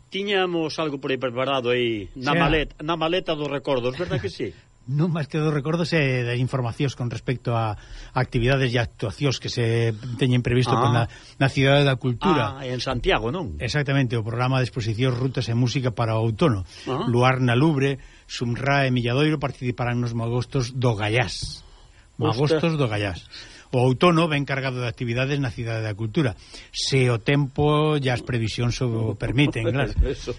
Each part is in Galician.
Tiñamos algo por aí preparado aí na maleta dos recordos, verdad que sí? Non máis que dos recordos e das informacións con respecto a actividades e actuacións que se teñen previsto na Cidade da Cultura. En Santiago, non? Exactamente, o programa de exposicións, rutas e música para o outono. Luar na Lubre, Sumra e Milladoiro participarán nos magostos do Gallás. Magostos do Gallás. O outono ven cargado de actividades na Cidade da Cultura, se o tempo e as previsións o permiten, claro.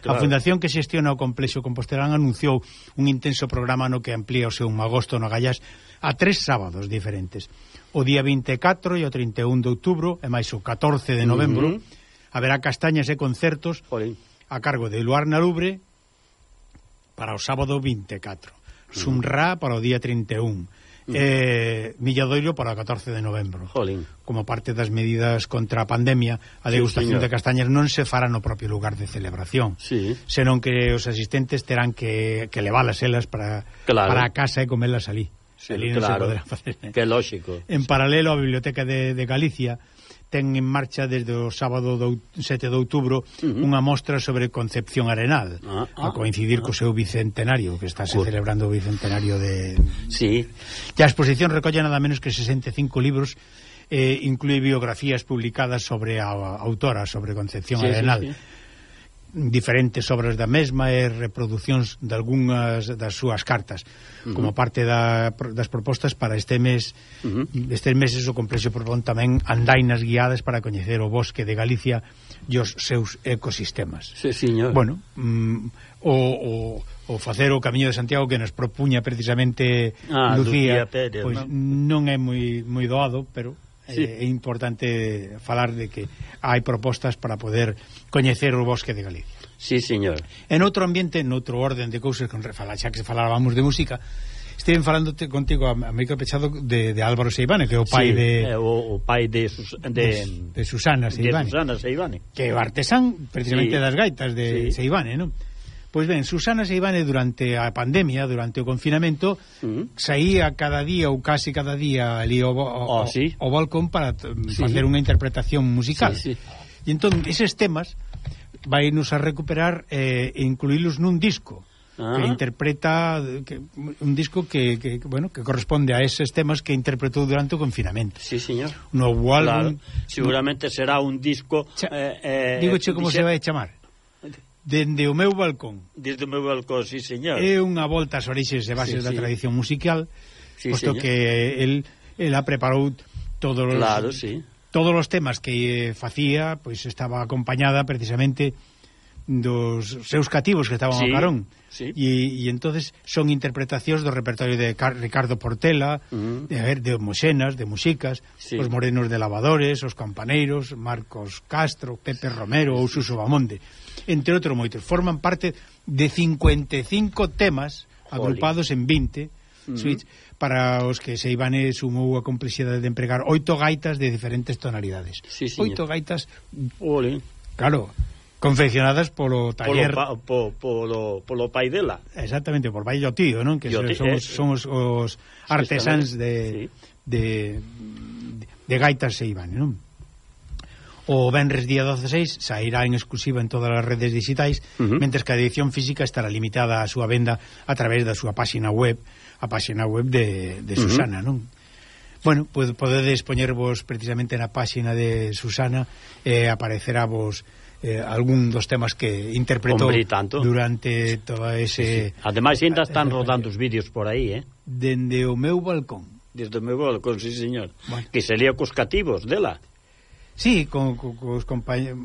A Fundación que xestiona o Complexo Compostelán anunciou un intenso programa no que amplía o seu magosto no Gallás a 3 sábados diferentes. O día 24 e o 31 de outubro, e máis o 14 de novembro, haberá castañas e concertos a cargo de Luar na Lubre para o sábado 24, Sumra para o día 31, Milladoiro para o 14 de novembro. Como parte das medidas contra a pandemia, a degustación de castañas non se fará no propio lugar de celebración, senón que os asistentes terán que leválas elas para a casa e comelas ali. Ali non se poderá facer. Que lógico. En paralelo, a Biblioteca de Galicia ten en marcha desde o sábado 7 de outubro unha mostra sobre Concepción Arenal, a coincidir co seu bicentenario, que está se celebrando o bicentenario de... Sí. E a exposición recolle nada menos que 65 libros, inclúe biografías publicadas sobre a autora, sobre Concepción Arenal. Diferentes obras da mesma e reproduccións de algunhas das súas cartas, como parte das propostas para estes meses o Complexo propón tamén andainas guiadas para coñecer o bosque de Galicia e os seus ecosistemas. Bueno, o facer o Camiño de Santiago que nos propuña precisamente Lucía Pérez, pois non é moi doado, pero é importante falar de que hai propostas para poder coñecer o bosque de Galicia. Sí, señor. En outro ambiente, noutro orden de cousas, xa que falábamos de música, estiven falando contigo a micro pechado de Álvaro Seivane, que é o pai o pai de Susana Seivane, que é o artesán precisamente das gaitas de Seivane, non? Pois ben, Susana Seivane durante a pandemia, durante o confinamento, saía cada día ou casi cada día ali ao balcón para facer unha interpretación musical. E entón, eses temas vai nos a recuperar e incluílos nun disco que interpreta un disco que corresponde a eses temas que interpretou durante o confinamento. Sí, señor. Novo álbum, seguramente será un disco digoche como se vai chamar. Dende o meu balcón. Desde o meu balcón, sí, señor. É unha volta ás orixes e bases da tradición musical, posto que ela preparou todos os temas que facía, pois estaba acompañada precisamente dos seus cativos que estaban ao carón. E entonces son interpretacións do repertorio de Ricardo Portela, de Moxenas, de Muxicas, os Morenos de Lavadores, os Campaneiros, Marcos Castro, Pepe Romero ou Suso Bamonde, entre outros moitos. Forman parte de 55 temas agrupados en 20 suites, para os que Seivane sumou a complexidade de empregar 8 gaitas de diferentes tonalidades. 8 gaitas, claro, confeccionadas polo taller polo pai dela. Exactamente, por pai e o tío, non? Que son os artesáns de gaitas Seivane, non? O venres día 16 sairá en exclusiva en todas as redes digitais, mentres que a edición física estará limitada a súa venda a través da súa páxina web, a páxina web de Susana, non? Bueno, podedes poñervos precisamente na páxina de Susana e aparecerá vos algún dos temas que interpretou durante todo ese... Ademais, ainda están rodando os vídeos por aí, Dende o meu balcón. Desde o meu balcón, sí, señor. Bueno. Que sería cos cativos dela. Sí, con os compañeros,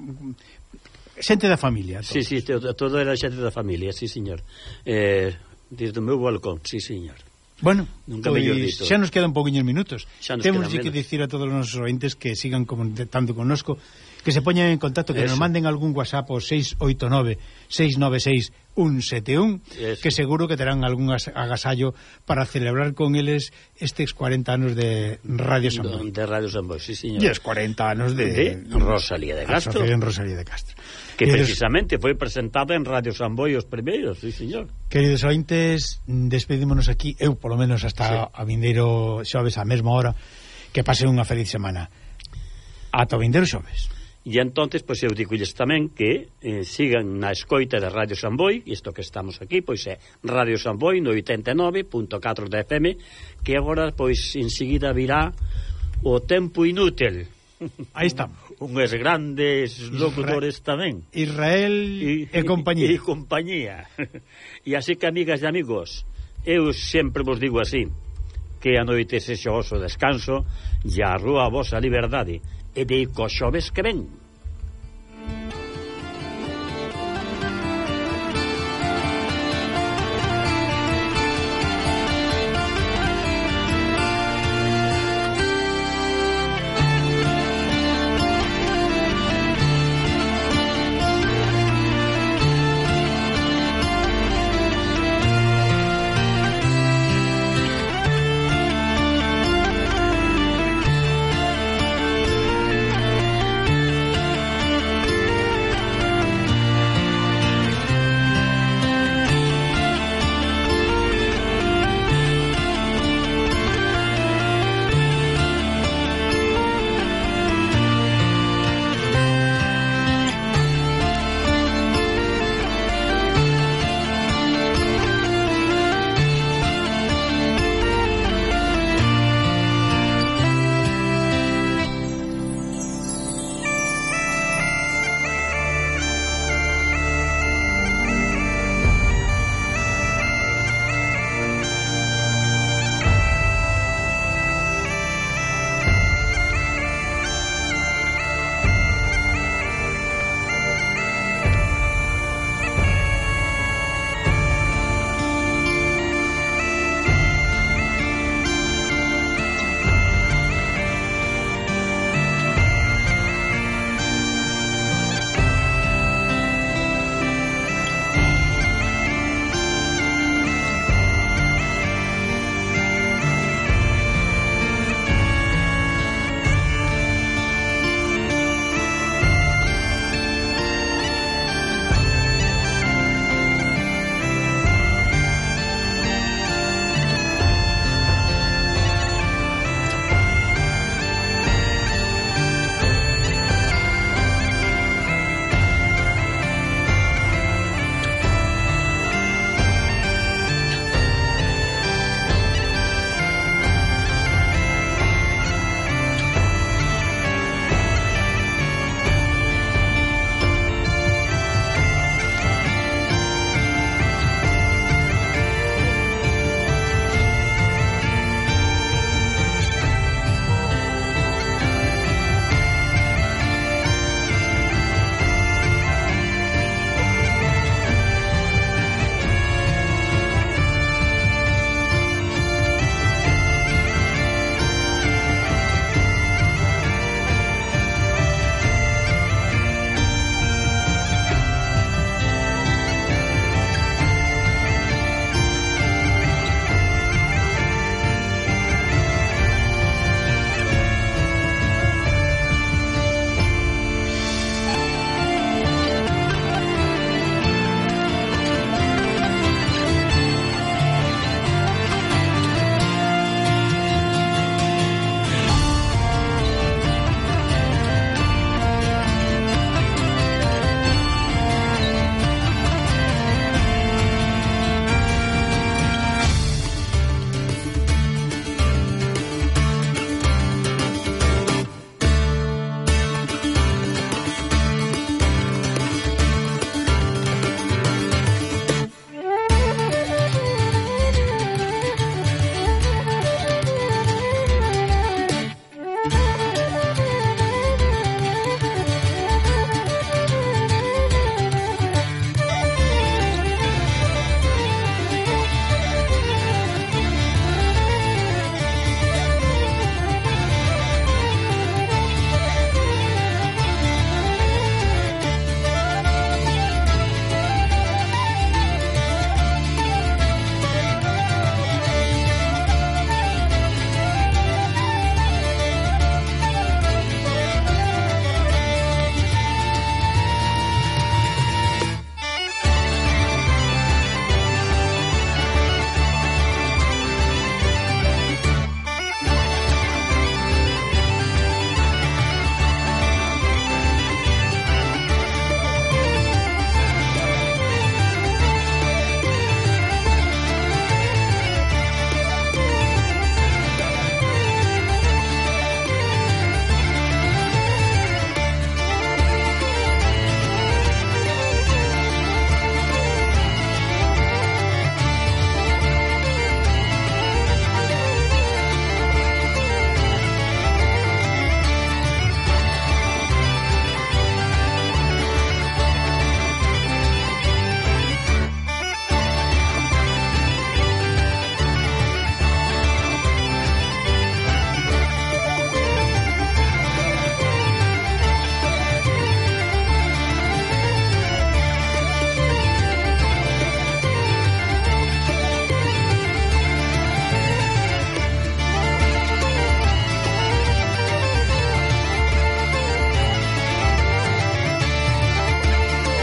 xente da familia. Todos. Sí, todo era xente da familia, sí, señor. Desde o meu balcón, sí, señor. Bueno, pois xa nos quedan pouquiños minutos. Temos que dicir a todos os nosos ointes que sigan comentando connosco, que se poñan en contacto, que nos manden algún WhatsApp ao 689-696-171, que seguro que terán algún agasallo para celebrar con eles estes 40 anos de Radio Samboy. De Radio Samboy, sí, señor. E os 40 anos de Rosalía de Castro. Asociación Rosalía de Castro. Que precisamente foi presentada en Radio Samboy os primeiros, sí, señor. Queridos ointes, despedímonos aquí, eu polo menos hasta a vindeiro xoves á mesma hora, que pasen unha feliz semana. Ata o vindeiro xoves. E entonces, pois eu digo-lles tamén que sigan na escoita de Radio Samboy, isto que estamos aquí, pois é Radio Samboy no 89.4 da FM, que agora, pois, enseguida virá o Tempo Inútil. Aí estamos. Unhos grandes locutores tamén. Israel e compañía. E compañía. E así que, amigas e amigos, eu sempre vos digo así, que a noite sexa o vosso descanso e a rúa a vosa liberdade, e de co xoves que ven.